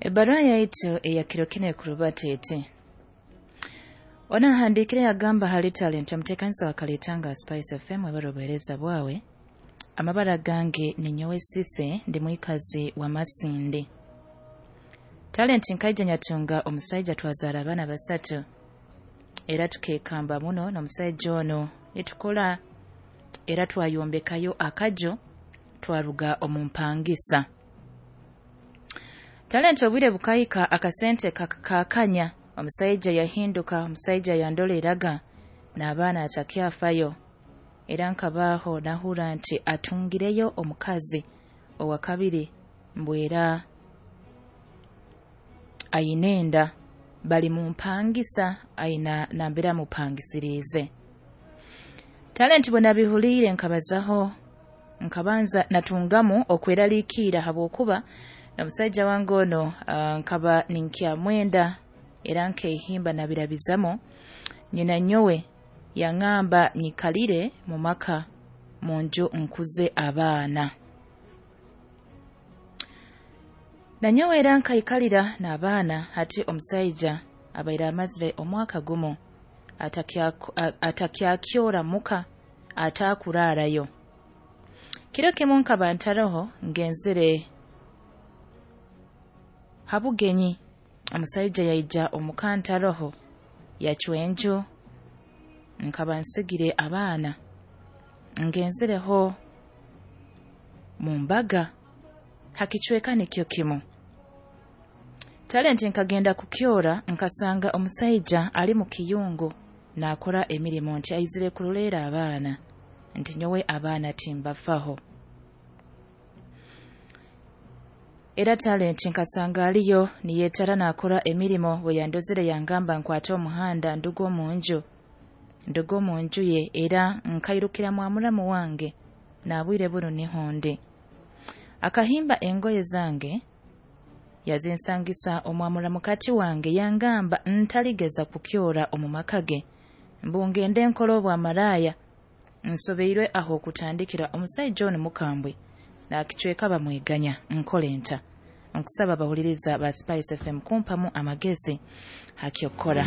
Ebbaruha yaitu eya kiro kinu ekurubata eti: Ono ahandiikire yagamba, "Hali Talenti omuteekaniza wa Kalitanga Spice FM, webale obuheereza bwawe. Amabara gange ninyowe Sise, ndi mwikazi wa Masindi. Talenti, nkaija nyatunga omusaija, twazaara abaana basatu, era tukeekamba muno n'omusaija ono nitukora, era twayombekayo akaju, twaruga omu mpangisa. Talenti, obwire bukahika, akasente kakanya, omusaija yahinduka, omusaija yandoleraga n'abaana atakyafayo. Era nkabaaho nahurra nti atungireyo omukazi owa kabiri, mbu era aine enda, bali mu mpangisa, aina nambere amupangisiriize. Talenti, bwe nabihuliire nkabazaho, nkabanza natungamu okweraliikirra, habwokuba omusaija wange ono nkaba ninkyamwenda, era nkehimba nabirabizamu. Nyina nyowe yangamba nyikalire mu maka, mu nju, nkuze abaana. Nanyowe era nkaikalira n'abaana. Hati omusaija abaire amazire omwaka gumu atakyakyora muka, atakuraarayo. Kiro kimu nkaba ntaroho, ngenzere ha bugenyi, omusaija yaija omuka ntaroho, yacwa enju. Nkaba nsigire abaana ngenzereho mu mbaga ha kicweka nikyo kimu. Talenti, nkagenda kukyora, nkasanga omusaija ali mu kiyungu naakora emirimo, nti aizire kuroleera abaana, nti nyowe abaana timbafaho. Era Talenti, nkasanga aliyo niyetara naakora emirimo. Bwe yandozere yangamba nkwate omuhanda nduge omu nju, nduge omu nju ye, era nkairukira mwa muramu wange, naabwire bunu niho ndi. Akahimba engoye zange yazinsangisa omwa muramukati wange, yangamba ntaligeza kukyora omu maka ge, mbu ngende nkole obwamaraaya. Nsobeirwe aho okutandikira. Omusaija onu mukambwe, nakicweka bamweganya. Nkole nta? Nkusaba abahuliriza ba Spice FM kumpamu amagezi hakyokukora."